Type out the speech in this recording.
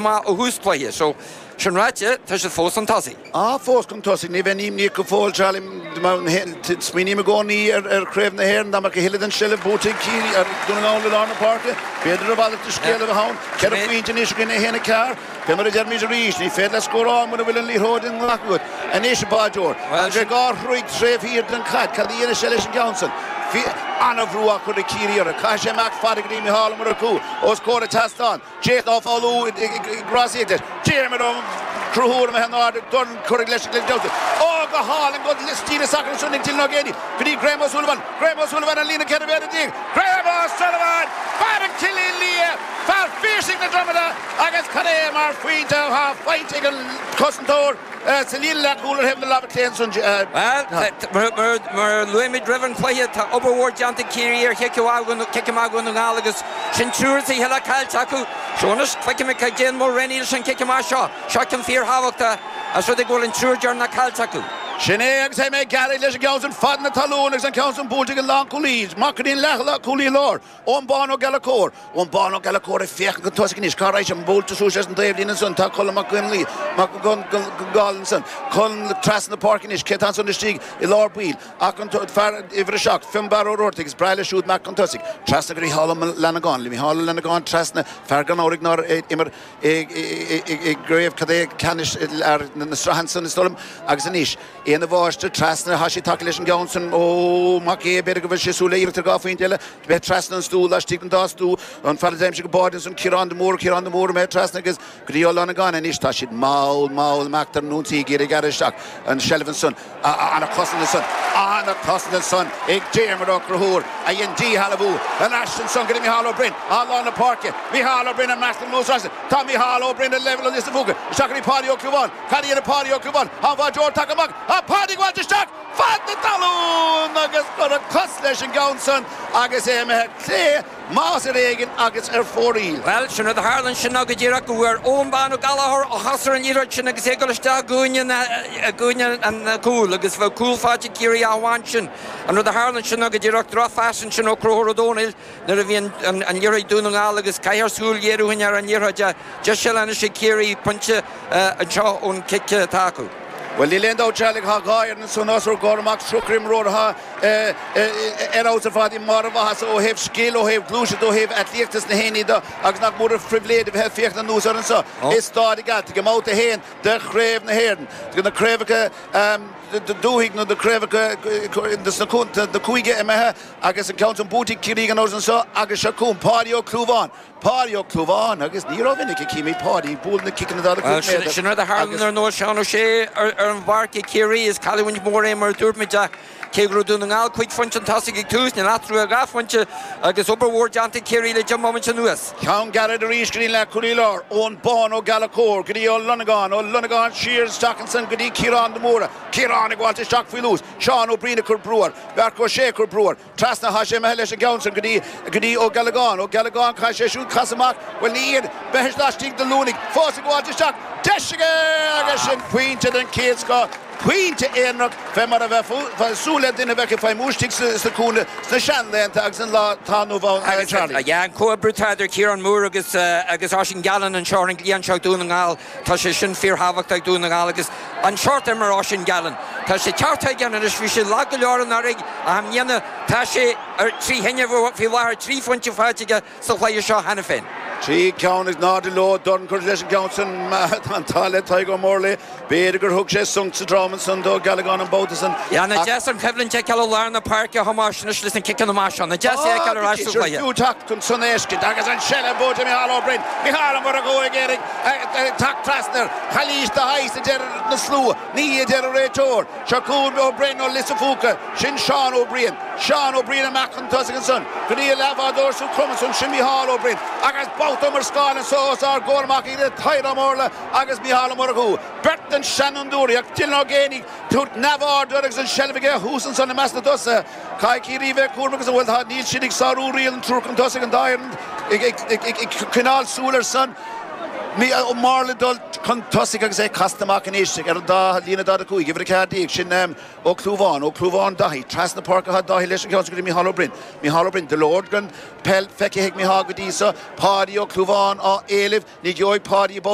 Maith ó thús cluiche. So, sin ráite, tá siad fós chun tosaigh. Ah, fós chun tosaigh. Ní bheinn imníoch go fóill, Charlie. Smaoiním i gcónaí ar Chraobh na hÉireann, dá mbeadh a thuilleadh den seilbh buaite ag Ciarraí, ar Dún na nGall i lár na páirce, b'fhéidir a mhalairt de scéal a bheith ann. 4 phointe anois againn, 1, 4. Fé mar a deirimid arís, ní féidir leat scóráil mura bhfuil an liathróid i nglac agat. Anois, a bháideoir, tá sé dhá throigh taobh thiar den chaid. Cad a dhéanfaidh sé leis an gceann san? An-bhrú á chur ag Ciarraí orthu. Caithfidh sé amach fada go dtí Micheál Ó Murchú os comhair an tseastáin. Jason Ó Foghlú ag rásaíocht leis. Diarmuid Ó Conchúir imithe in airde, dorn curtha leis an gclós. Ó, go hálainn, go stíle sacair ansin ag Dylan Ó Géibheannaigh go dtí Graham O'Sullivan. Graham O'Sullivan ar líne 14 mhéadar. Graham O'Sullivan! Fear an Chillín Liath! Fear Phiarsaigh na Dromoda! Agus cad é mar phointe atá faighte ag an chosantóir sa líne leathchúil ar thaobh na láimhe clé ansan. Bhuel, mar a luaigh muid roimh an chluiche, tá obair mhór déanta ag Ciarraí ar chic amach Dhún na nGall agus sin triúr is a thuilleadh caillte acu. So anois, feicfimid cad déanfaidh Mulraney leis an chic amach seo. Seo ceann fíorthábhachtach as rud é go bhfuil an triúr deireanach caillte acu. Sin é agus é gearraithe leis an gceann san fad na talún agus an ceann san buailte ag an lánchúlaí amach go dtí an leathchúlaí láir. Eoin Bán Ó Gallchóir, Eoin Bán Ó Gallchóir ag féachaint chun tosaigh anois. Cá raghaidh sé? Buailte suas leis an dtaobhlíne ansan. Tá Colm Mac Conlaoi, Mac Congáil ansan. Colm trasna na páirce anois. Cé tá ansan istigh i lár baill ach an fear uimhir a 7, Fionnbarra Ó Roartaigh. Is breá leis siúd imeacht chun tosaigh. Trasna go Micheál Ó Fhlannagáin. Micheál Ó Fhlannagáin trasna, fear gan amhras nár imir i gcraobh cad é ceannais na sraithe ansan is dóigh liom. Agus anois. Éanna Mháistir trasna, tá sé tagtha leis an gceann san ó Mac Aodha, b'fhéidir go bhfuil sé ag súil le iarracht ar dhá phointe eile, bheith trasna an stua, laistigh den dá stua, an fear a d'aimsigh an báide ansan, Ciarán de Mórdha, Ciarán de Mórdha imithe trasna agus go dtí Ó Longáin anois, tá siad mall, mall imeacht ar an ionsaí ag iarraidh gearradh isteach an seilbh ansan, ana-chosaint ansan, ana-chosaint ansan ag Diarmuid Ó Conchúir a dhein díshealbhú, ar ais ansan go dtí Micheál Ó Broin, á lár na páirce, Micheál Ó Broin ag imeacht anuas trasna, tá Micheál Ó Broin ar leibhéal an Lios an Phúca, isteach go dtí Páidí Ó Clúmháin. Cad a dhéanfaidh Páidí Ó Clúmháin? Tá an báideoir tagtha amach. Tá Páidí ag gabháilt isteach fad na talún agus cuireadh cos leis an gceann san agus é imithe clé, más ar éigean agus ar fóraoil. Bhuel, sin rud a tharla ansin ná go díreach go bhfuair Eoin Bán Ó Gallchóir a chos ar an liathróid sin agus é ag dul isteach i gcúinne na, i gcúinne an chúil agus bheadh cúl faighte ag Ciarraí ach amháin sin. An rud a tharla ansin ná go díreach drochphas ansin ó Conchúr Ó Dónaill nuair a bhí an, an liathróid ag Dún na nGall agus caithfear súil a ghéarú ar an liathróid. Deis eile anois ag Ciarraí, pointe anseo ón cic atá acu. Bhuel, níl aon dabht, Charlie, tá dhá fhoireann ansan os ár gcomhair amach, 30 imreoir atá ar fheabhas ar fad i mbarr a mhaitheasa ó thaobh scil, ó thaobh gluaiseachta, ó thaobh aclaíochta sna héinní de agus nach mór an phribhléid a bheith ag féachaint anuas orthu anso i Stáid an Ghealtaigh i mbabhta 1 de Chraobh na hÉireann, de na craobhacha dúthaigh nó na craobhacha sna cúige imithe agus an ceann san buaite ag Ciarraí gan amhras anso agus seo chugainn Páidí Ó Clúmháin. Páidí Ó Clúmháin agus ní rómhinic a chímid Páidí ag bualadh na ciceanna 45 méadar Sin rud a tharla agus. ar ndóigh Seán Ó Sé ar an bpáirc ag Ciarraí. Is cailliúint mhór é mar a dúirt muid ach cé go raibh Dún na nGall cúig phointe chun tosaigh ag tús, níl eatarthu ach dhá phointe agus obair mhór déanta ag Ciarraí le deich mbomaite anuas. Ceann gairid arís go dtí an leathchúlaí láir, Eoin Bán Ó Gallchóir go dtí Ó Longáin, Ó Longáin siar isteach ansan go dtí Ciarán de Mórdha, Ciarán ag gabháilt isteach faoi luas, Seán Ó Briain ag cur brú air, Beartla Ó Sé ag cur brú air. Trasna, tá sé imithe leis an gceann san go dtí, go dtí Ó Gealagáin. Ó Gealagáin, caithfidh sé siúd casadh amach, bhuel ní iad, bheith laistigh de Luanaigh, fós ag gabháilt isteach, deis aige agus sin pointe den chéad scoth, pointe aonarach fé mar a bheifeá ag súil le duine a bheadh ag feidhmiú istigh sa chúinne sna seanlaethanta agus an lá atá inniu ann, Charlie. Yeah, an comhoibriú atá idir Ciarán Moore agus, agus Oisín Gallen anseo ar an gcliathán seo ag Dún na nGall. Tá sé sin fíorthábhachtach ag Dún na nGall agus an seort a imir Oisín Gallen. Tá sé teacht chuige anois, bhí sé lag go leor anuraidh ach i mbliana tá sé ar trí thine faoi láthair, trí phointe faighte aige sa chluiche seo cheana féin. Trí cheann is náid leo, dorn curtha leis an gceann san, tá an t-ádh le Tadhg Ó Murlaigh, b'fhéidir gur thug sé sonc sa drom ansan do Ó Gealagáin an babhta san ach. Ana deas an choimhlint a fheiceáil i lár na páirce a Thomáis anois leis na ciceanna amach seo. Ana deas é a fheiceáil ar ais sa chluiche. Fiú teacht chun san fheiscint agus an seilbh buaite Micheál Ó Broin, Micheál Ó Murchú ag iarraidh teacht trasna air. Calaois de shaghas a deir na slua, ní a deir an réiteoir. Seo chugainn Ó Broin ó Lios an Phúca, sin Seán Ó Briain. Seán Ó Briain amach chun tosaigh ansan go dtí a leathbhádóir sa chrom ansan, sin Micheál Ó Broin. Agus babhta iomrascáil anso os ár gcomhair amach idir Tadhg Ó Murlaigh agus Micheál Ó Murchú. Beirt den seanfhondúirí ach Dylan Ó Géibheannaigh tabhairt neamhaird air agus an seilbh aige thuas ansan i measc na dtosaithe. Caithfidh Ciarraí bheith cúramach agus an bhfuil tá níl siad ag sárú riail an triúr chun tosaigh an dá fhoireann ag coinneáil súil ar san. Ó Máirle ag dul chun tosaigh agus é casta amach anois ar an dá líne 45, uimhir 14, sin Ó Clúmháin, Ó Clúmháin Daithí, trasna páirce atá Daithí leis an gceann sin go dtí Micheál Ó Broin, Micheál Ó Broin, go leor den peil feicthe ag Micheál go dtí so, Páidí Ó Clúmháin á éileamh, ní gheobhaidh Páidí an babhta.